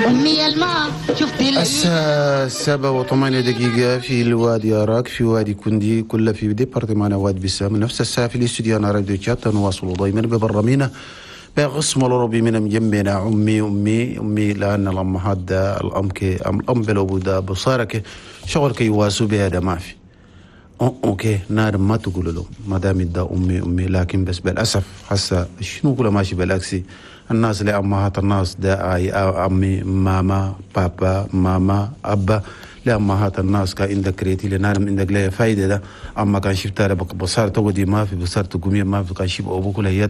أمي الماء شفت. الساعة 7:08 في الوادي أراك، في وادي كوندي، كل في département واد بسام. نفس الساعة في الاستوديو أنا راديو تشات. نواصل دائما ببرامينا بقسم الأوروبي من مجمعنا أمي أمي أمي، لأن الأمهات ده الأم كي الأم بلو ده بصارك شغل كي يواسوا بها ده ما في. okay، نار ما تقول له ما دام ده امي امي، لكن بس بالاسف هسه شنو كله ماشي بالعكسي. الناس اللي امهات الناس ده اي امي ماما بابا ماما ابا، لامهات الناس كان عندك كريتي لنار عندك لا فايده ده. اما كان شفت بصار تودي ما في، بصار تقومي ما في، كان شيب ابوك هي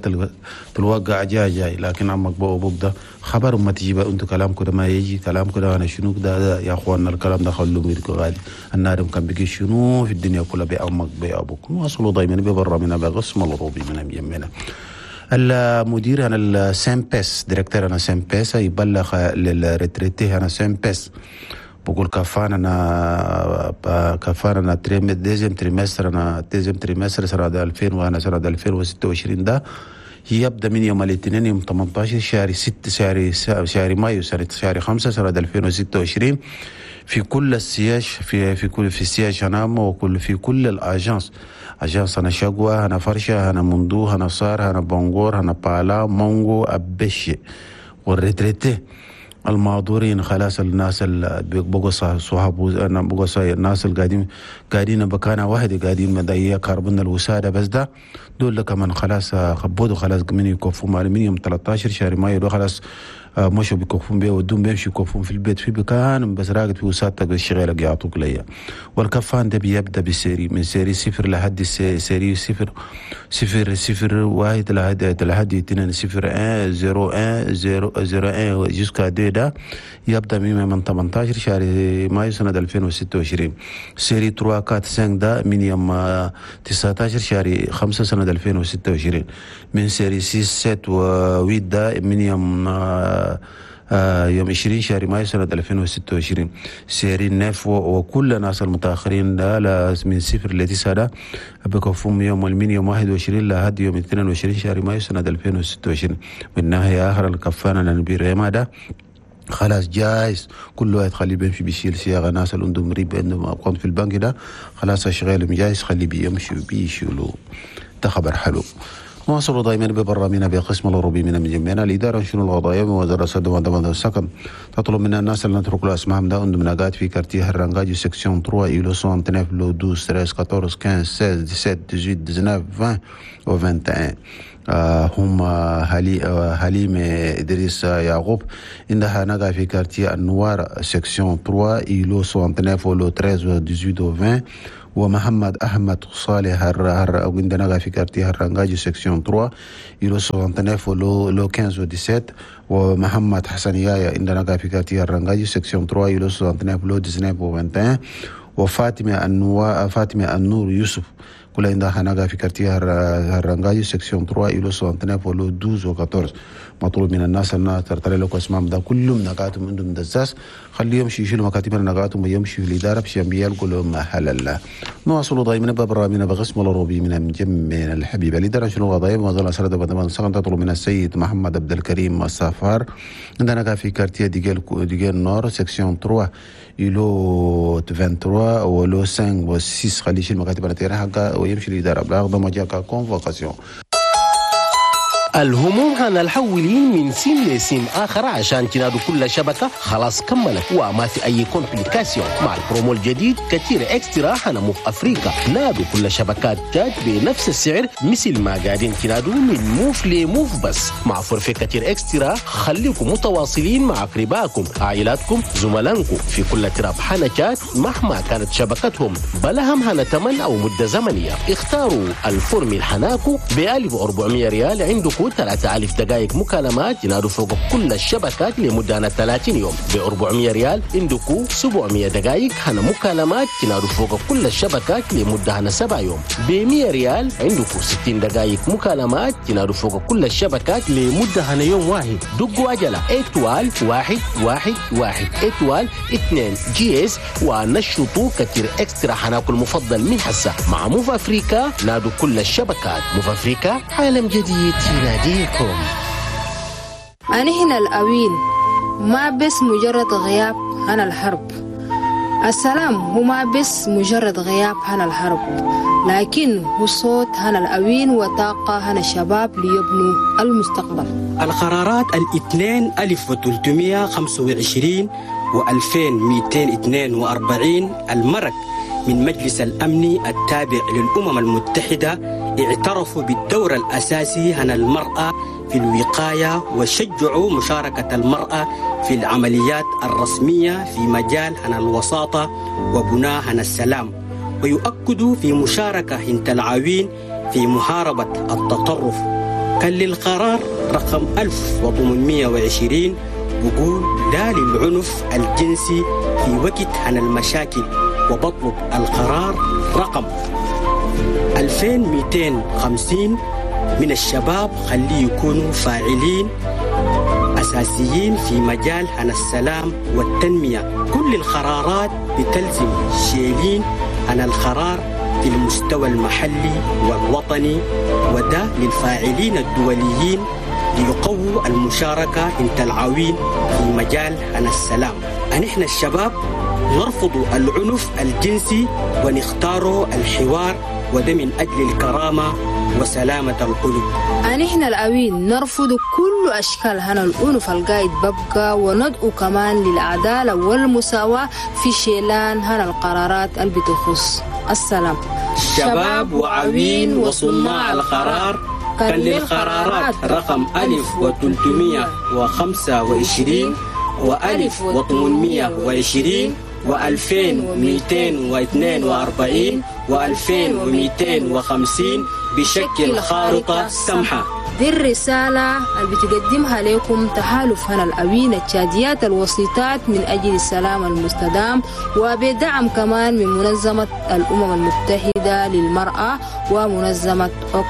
تلوقع جاي جاي، لكن عمك ابوك ده خبر ما تجيب انتو كلام كده ما يجي كلام كده. انا شنو ده يا اخواننا الكلام ده خلوه ميركو غالي. النار كان بيجي شنو في الدنيا كلها بأمك بأبوك. نواصلوا دايما ببرا من بقسم الروبي من يمنا. المدير انا ال CNPS، directeur انا CNPS يبلغ لل retraités انا CNPS، بقول كفانا deuxième trimestre انا deuxième trimestre سنة 2000 وانا سنة 2026 ده يبدا من يوم الاثنين يوم 18 شهر 6 شهر مايو سنة شهر 5 سنة 2026 في كل ال siège في كل في ال siège هنام وكل في كل ال agences، agence انا شقوة انا فرشة انا مندو انا صار انا بونغور انا بالا مونغو ابشي. وال retraités المعذورين خلاص الناس اللي بقوا صحاب انا بقوا الناس اللي قاعدين بكانة واحدة قاعدين مضيع كربون الوسادة بس ده دول كمان خلاص خبودوا خلاص من يكفوا من يوم 13 شهر مايو خلاص مشوا بيكفون بيه ودون بيمشي يكفون في البيت في بكان بس راقد في وسادتك بالشغيلة يعطوك ليا. والكفان ده بيبدا ب série من série صفر لحد série 0 0 0 1 لحد 2 0 1 0 1 0 0 1 jusqu'à 2 ده يبدا من 18 شهر مايو سنة 2026. série 3 4 5 ده من يوم 19 شهر 5 سنة 2026. من série 6 7 و 8 ده من يوم 20 شهر مايو سنة 2026. série neuf وكل الناس المتأخرين ده من 0 ل 9 ده بكفهم يوم من يوم 21 لحد يوم 22 شهر مايو سنة 2026. من ناحية آخر الكفانة لنبي ده خلاص جايز كل واحد خليه بيمشي بيشيل صياغة ناس اللي عندهم ريب عندهم أرقام في البنك ده خلاص اشغالهم جايز خليه بيمشي بيشيلوا. ده خبر حلو. نواصل دائما ببرامجنا بقسم الأوروبي من مجمعنا. الإدارة شنو القضايا ووزارة السد والسكن تطلب من الناس اللي نترك له اسمهم ده عندهم نقاط في quartier هرنجاجي section 3 îlot 69 lot 12 13 14 15 16 17 18 19 20 و 21. هم حليم إدريس يعقوب عندها نقا في quartier النوار section 3 îlot 69 lot 13 18 و 20. ومحمد أحمد صالح عندنا في quartier هرنجاجي section 3 îlot 69 lot 15 و 17. ومحمد حسن يايا عندنا في quartier هرنجاجي section 3 îlot 69 lot 19 و 21. وفاطمة فاطمة النور يوسف كل عندها هناك في quartier هرنجاجي section 3 îlot 69 lot 12 و 14. مطلوب من الناس أن ترتلي لكم اسمهم ده كلهم نقاتهم عندهم دزاز خليهم يمشي يشيلوا مكاتب نقاتهم ويمشي في الإدارة باش يلقوا لهم محل الله. نواصلوا دائما ببرامجنا بقسم الأوروبي من مجمعنا الحبيب. الإدارة شنو القضايا وزارة سرد بدمان سكن تطلب من السيد محمد عبد الكريم السفار عندنا في quartier ديجيل nord section 3 îlot 23 و lot 5 و 6 خليه يشيل مكاتب حقا ويمشي الإدارة بلا ما جاك convocation. الهموم هنا الحولين من سيم لسيم آخر عشان تنادوا كل شبكة خلاص كملت وما في أي complication. مع البرومو الجديد كتير extra هنا موف أفريقيا نادوا كل شبكات تشاد بنفس السعر مثل ما قاعدين تنادوا من موف لموف، بس مع forfait كتير extra خليكم متواصلين مع أقربائكم عائلاتكم زملائكم في كل تراب حنا تشاد مهما كانت شبكتهم بلهم هنا تمن أو مدة زمنية. اختاروا ال formule حناكو ب 1400 ريال عندكم 3000 دقائق مكالمات ينادوا فوق كل الشبكات لمدة 30 يوم. ب 400 ريال عندكم 700 دقائق هنا مكالمات ينادوا فوق كل الشبكات لمدة هنا 7 يوم. ب 100 ريال عندكم 60 دقائق مكالمات ينادوا فوق كل الشبكات لمدة هنا يوم واحد. دقوا عجلة étoile 1 1 1 étoile 2 dièse ونشطوا كتير extra حناكل المفضل من حسة مع موف أفريكا. نادوا كل الشبكات. موف أفريكا عالم جديد يناديكم. أنا هنا الأويل ما بس مجرد غياب عن الحرب. السلام هو ما بس مجرد غياب عن الحرب، لكن هو صوت هنا الأوين وطاقة هنا الشباب ليبنوا المستقبل. القرارات الاثنين 1325 و2242 المرق من مجلس الأمن التابع للأمم المتحدة اعترفوا بالدور الأساسي هنا المرأة في الوقاية، وشجعوا مشاركة المرأة في العمليات الرسمية في مجال هنا الوساطة وبناء هنا السلام، ويؤكدوا في مشاركة هنت العوين في محاربة التطرف. كان للقرار رقم 1820 بقول لا للعنف الجنسي في وقت عن المشاكل، وبطلب القرار رقم 2250 من الشباب خليه يكونوا فاعلين أساسيين في مجال عن السلام والتنمية. كل القرارات بتلزم شيلين عن القرار في المستوى المحلي والوطني، وده للفاعلين الدوليين ليقووا المشاركة انت العوين في مجال عن السلام. نحن الشباب نرفض العنف الجنسي ونختار الحوار، وده من أجل الكرامة وسلامة القلوب. نحن الأوين نرفض كل أشكال هنا العنف القايد ببقى، وندعو كمان للعدالة والمساواة في شيلان هنا القرارات اللي بتخص السلام. شباب وعوين وصناع القرار، كان للقرارات رقم 1325 و1820 و2242 و2250 بشكل خارطة سمحة. دي الرسالة اللي بتقدمها لكم تحالف هنا الأوين التشاديات الوسيطات من أجل السلام المستدام، وبدعم كمان من منظمة الأمم المتحدة للمرأة ومنظمة أوكس.